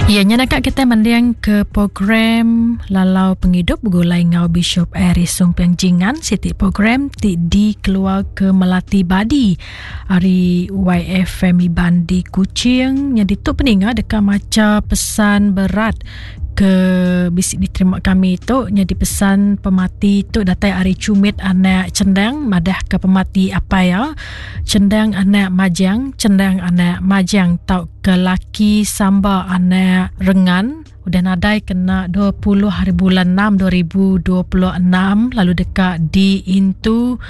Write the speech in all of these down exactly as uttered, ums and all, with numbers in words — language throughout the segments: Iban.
Ya, nya kita mendiang ke program Lalau Penghidup begulai ngau Bishop Aris Sumpiang Jingan, siti program ti dikeluar ke Melati Badi hari Y F M Iban di Kuching. Yang ditutup peninga deka maca pesan berat ke bisik diterima kami tu. Jadi pesan pemati tu datai ari cumit anak cendang madah ke pemati apa ya cendang anak majang, cendang anak majang tau ke laki samba anak rengan udah nadai kena dua puluh hari bulan enam dua ribu dua puluh enam, lalu dekat di intu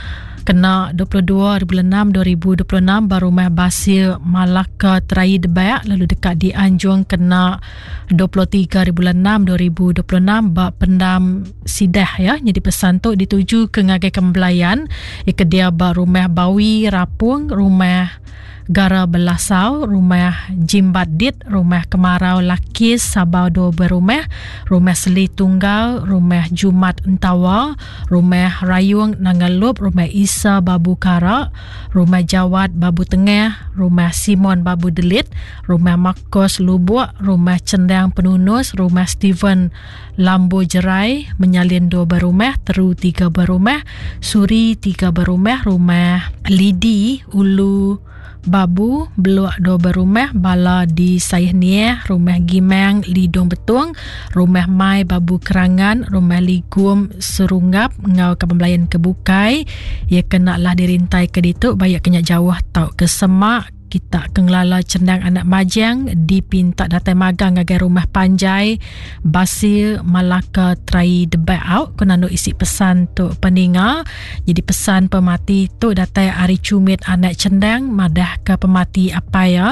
kena dua puluh dua hari bulan enam dua ribu dua puluh enam baru rumah Basil Malaka Terai Debayak, lalu dekat di Anjung kena dua puluh tiga hari bulan enam dua ribu dua puluh enam bak pendam Sidah ya. Jadi pesan tu dituju ke ngagai kembelayan ke dia bak rumah Bawi Rapung, rumah Gara Belasau, rumah Jimbat Dit, rumah Kemarau Lakis Sabau dua berumah, rumah Seli Tunggal, rumah Jumat Entawa, rumah Rayung Nangalup, rumah Isa Babu Kara, rumah Jawat Babu Tengah, rumah Simon Babu Delit, rumah Makos Lubuk, rumah Cendang Penunus, rumah Steven Lambo Jerai, Menyalin dua berumah, Teru tiga berumah, Suri tiga berumah, rumah Lidi Ulu Babu, Beluak dua berumah, Bala di Sayah Niah, rumah Gimang Lidung Betung, rumah Mai Babu Kerangan, rumah Ligum Serungap, ngau ke pembelayan kebukai. Ia kena lah dirintai ke ditu, bayak kena jauh tau ke semak. Kita kengelala cendang anak majang dipinta datai magang ngagai rumah panjai Basil Malaka Trai Debat out kena nu isi pesan tu peninga. Jadi pesan pemati tu datai ari cumit anak cendang madah ke pemati apa ya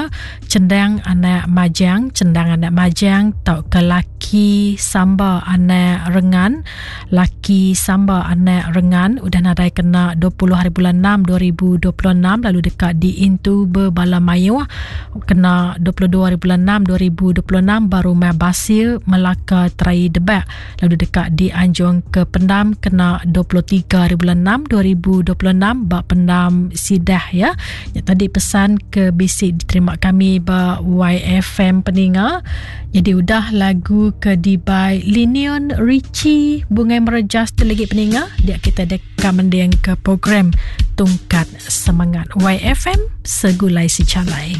cendang anak majang, cendang anak majang tau ke laki samba anak rengan, laki samba anak rengan udah nadai kena dua puluh hari bulan enam dua ribu dua puluh enam, lalu dekat di intu berbala Mayuh kena dua puluh dua hari bulan enam dua ribu dua puluh enam baru Rumah Basil Melaka Terai Debak, lalu dekat di Anjung ke Pendam kena dua puluh tiga hari bulan enam dua ribu dua puluh enam bak Pendam Sidah ya. Ya tadi pesan ke bisik diterima kami ba Y F M peninga. Jadi udah lagu ke dibai Linion Richie Bungai Merejas terlegi peninga dia kita dekat mending ke program Tungkat Semangat Y F M Segulai Secalai.